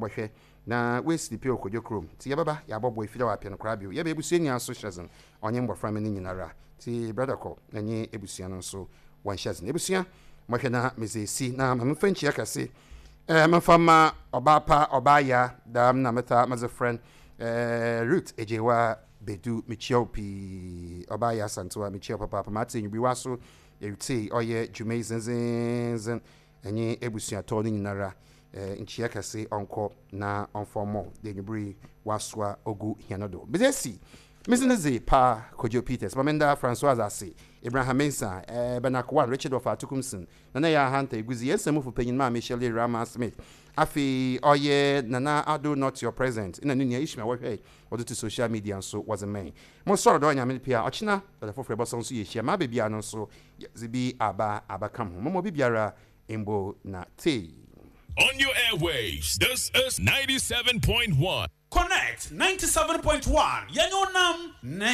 Wɔbɔhwɛ na woesi pɛ wɔ Kodwo kurom. Ntsi yɛbɛba yɛabɔboa efir a ɔapɛ no koraa bio. Yɛba ebusua nyina so hyɛ dzen, ɔnye mboframba no nyinara. Ntsi Brɔda kɔ na nye ebusua no so wɔnhyɛ dzen. Ebusua, mɔhwɛ na medze esi na ma memfa nkyia kɛse eh, memfa mma ɔbaa pa, ɔbaa ya, dɛm na metaa medze frɛ no, eh, Ruth Egyewa Bedu, mekyia wo pii, ɔbaa ya Asantewaa, mekyia wo papaapa, matse enyimber yi so eritsie ɔyɛ dwuma yi dzendzenndzen. Nye ebusuatɔ no nyinara nkyia kɛse ɔnkɔ na ɔmfa ɔmɔ dɛ ewimbir yi ɔasoa ogu hɛn do. Medze esi me dzin dze Pa Kojo Peters, ma menda Francoise ase, Abraham Mensah, Bernard Kowan, Richard Wɔfa Atukumson, Nana Yaa Hunter, Eguzi, hɛn samufo panyin Maame Shirley Rama Smith, afei ɔyɛ Nana Addo Not Your Present na no nua Ishmael wɔhwɛe wɔdze to social media nso wɔdze mae. Mosɔr do Nyame ne pɛ a, ɔkyena da fofor yɛbɔsan so yehyia, maba biara no nso Yɛdze bi aba abɛka ho. Momma obi biara mbo na tsei. On your airwaves, this is 97.1. Connect 97.1 yɛne wo nam ne.